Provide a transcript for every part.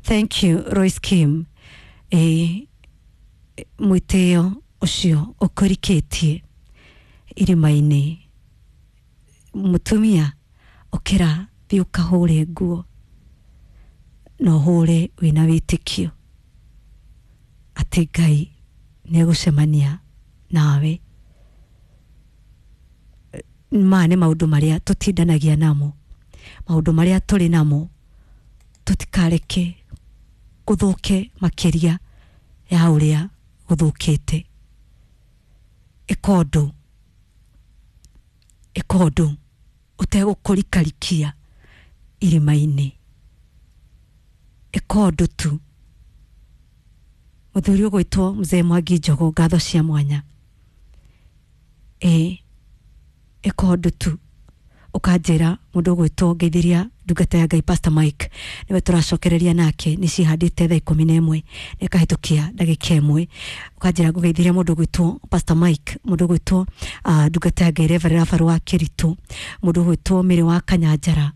Thank you Royce Kim. Mwĩtĩo ũcio ũkũrikĩtie irima-inĩ, mũtumia ũkĩra, thiĩ ũkahũre nguo na ũhũre wĩna wĩtĩkio atĩ Ngai nĩ egũcemania nawe. Maya nĩ maũndũ marĩa tũtindanagia namo, maũndũ marĩa tũrĩ namo, tũtikareke gũthũke makĩria ya ũrĩa gũthũkĩte. Ĩka ũndũ, ĩka ũndũ ũtegũkũrikarikia irima-inĩ, ĩka ũndũ tu. Mũthuri ũgwĩtwo Mzee Mwangi Njogo, ngatho cia mwanya. Ĩĩ, ĩka ũndũ tu. Ũkanjĩra mũndũ ũgwĩtwo ngeithiria ndungata ya Ngai Pastor Mike, nĩwe tũracokereria nake, nĩ cihandĩte thaa 11 na ĩkahĩtũkia ndagĩka 1. Ũkanjĩra ngũgeithiria mũndũ ũgwĩtwo Pastor Mike, mũndũ ũgwĩtwo ndungata ya Ngai Reverend Rafael wa Kĩritũ, mũndũ ũgwĩtwo Mĩrĩ wa Kanyanjara,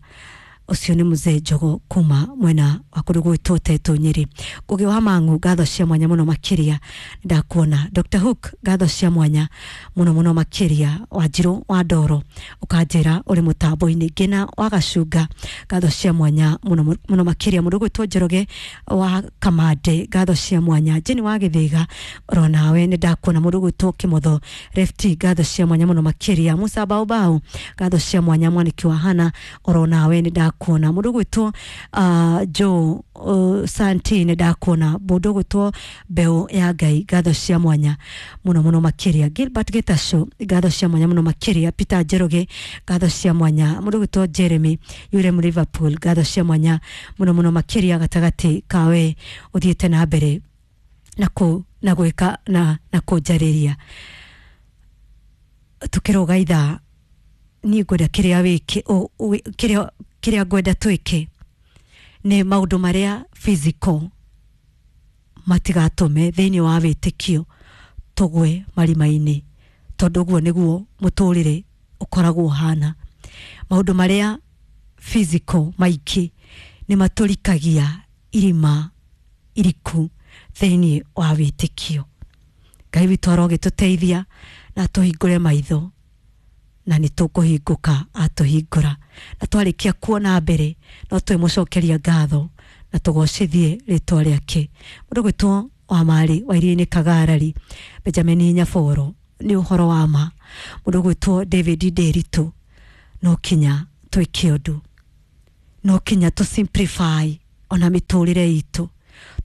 ũcio nĩ Mzee Njogo kuma mwena wa kũndũ gwĩtwo Tetũ Nyĩrĩ. Ngũgĩ wa Mang'u, ngatho cia mwanya mũno makĩria, ndakuona. Dr Hook, ngatho cia mwanya mũno mũno makĩria. Wanjirũ wa Ndoro, ũkanjĩra ũrĩ mũtambo-inĩ. Ngĩna wa Gacunga, ngatho cia mwanya mũno mũno makĩria. Mũndũ ũgwĩtwo Njoroge wa Kamande, ngatho cia mwanya. Jeni wa Gĩthĩga, oro nawe nĩ ndakuona. Mũndũ ũgwĩtwo Kĩmotho Lefty, ngatho cia mwanya mũno makĩria. Musa Baobao, ngatho cia mwanya. Mwaniki wa Hana, oro nawe nĩ ndakuona. Mũndũ ũgwĩtwo Joe Santi, nĩ ndakuona. Mũndũ ũgwĩtwo Mbeũ ya Ngai, ngatho cia mwanya mũno mũno makĩria. Gilbert Gĩtacũ, ngatho cia mwanya mũno makĩria. Peter Njoroge, ngatho cia mwanya. Mũndũ ũgwĩtwo Jeremy Yurem Liverpool, ngatho cia mwanya mũno mũno makĩria. Gatagatĩ kawe ũthiĩte na mbere na kũ na gwĩka na kũnjarĩria tukĩrũga ithaa. Niĩ ngwenda kĩrĩa wĩke, kĩrĩa ngwenda twĩke nĩ maũndũ marĩa physical matigatũme thĩinĩ wa wĩtĩkio tũgwe marima-inĩ, tondũ ũguo nĩguo mũtũrĩre ũkoragwo ũhana. Maũndũ marĩa physical maingĩ nĩ matũrikagia irima iriku thĩinĩ wa wĩtĩkio. Ngai witũ arogĩtũteithia na atũhingũre maitho, na nĩ tũkũhingũka atũhingũra, na twarĩkia kuona mbere no twĩmũcokeria ngatho na tũgocithie rĩtwa rĩake. Mũndũ gwĩtwo wa marĩ wa iria-inĩ Kagarari, Benjamin Nyaboro, nĩ ũhoro wa ma. Mũndũ gwĩtwo David Nderitu, no kinya twĩke ũndũ, no kinya tũ simplify ona mĩtũrĩre itũ,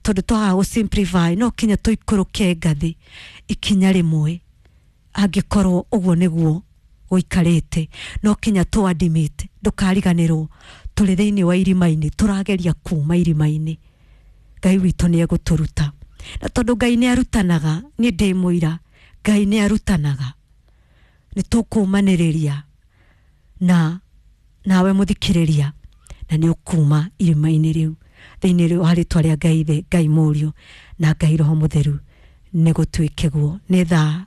tondũ twaga gũ simplify no kinya tũikũrũke ngathĩ ikinya rĩmwe. Angĩkorwo ũguo nĩguo gũikarĩte, no kinya tũ admit. Ndũkariganĩrwo tũrĩ thĩinĩ wa irima-inĩ, tũrageria kuma irima-inĩ. Ngai witũ nĩ egũtũruta, na tondũ Ngai nĩ arutanaga, niĩ ndĩ mũira Ngai nĩ arutanaga. Nĩ tũkũmanĩrĩria na nawe mũthikĩrĩria, na nĩ ũkuma irima-inĩ rĩu thĩinĩ wa rĩtwa rĩa Ngai Ithe, Ngai Mũriũ na Ngai Roho Mũtheru. Nĩ gũtuĩke guo. Nĩ thaa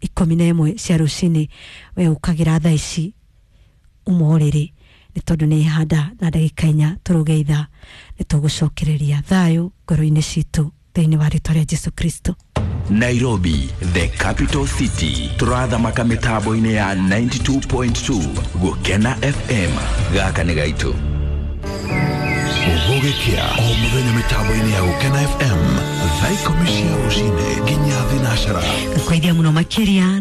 11 cia rũcinĩ, we ũkagĩra thaa ici uma ũrĩrĩ, nĩ tondũ nĩ handa na ndagĩka 4 tũrũge ithaa. Nĩ tũgũcokereria thayũ ngoro-inĩ citũ thĩinĩ wa rĩtwa rĩa Jesu Kristo. Nairobi, the capital city, tũrathamaka mĩtambo-inĩ ya 92.2 Gũkena FM. Gaka nĩ gaitũ. Gũgĩkĩa o mũthenya mĩtambo-inĩ ya Gũkena FM thaa 10 cia rũcinĩ nginya 12. Ngakwaithia mũno makĩria.